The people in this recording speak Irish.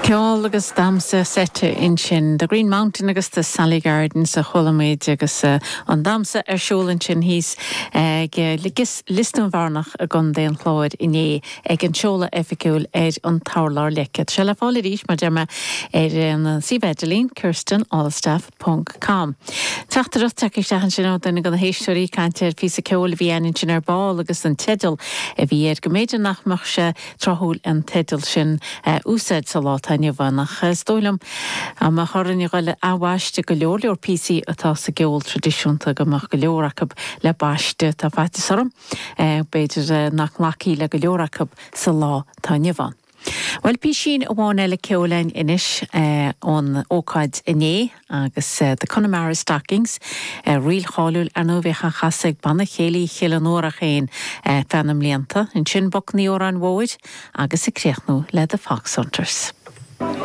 Ceol agus damhsa seite ansin. The Green Mountain agus The Sally Gardens a chuala muid agus an damhsa ar siúl ansin thíos ag Lios Dúin Bhearnach i gContae an Chláir inné ag an seoladh oifigiúil ar an t-urlár leice. Tá sé le fáil arís, mar deir mé, ar an suíomh idirlín, kirstenalstaff ponc com. Teachtaireacht tagtha isteach ansin ó duine de na héisteoirí ag caint ar phíosa ceoil a bhí againn ansin ar ball agus an teideal a bhí air, go mb'fhéidir nach mbeadh sé tráthúil an teideal sin a úsáid sa lá atá inniu ann ach is dóigh liom dá mbeadh orainn a ghoil a athbhaisteadh go leor leor píosaí atá sa gceol traidisiúnta go mbeadh go leor acu le baisteadh. Tá faitíos orm b'fhéidir nach nglacfaí le go leor acu sa lá atá inniu ann. Bhuel, písín amháin eile ceoil againn anois ón ócáid inné agus The Connemara Stockings, ríl cháiliúil ar ndóigh a bhíodh á chasadh ag Banna Céilí Chill an Fhuarach féin feadh na mblianta. Ansin Boc an Odhráin Mhóir agus ag críochnú le The Foxhunters.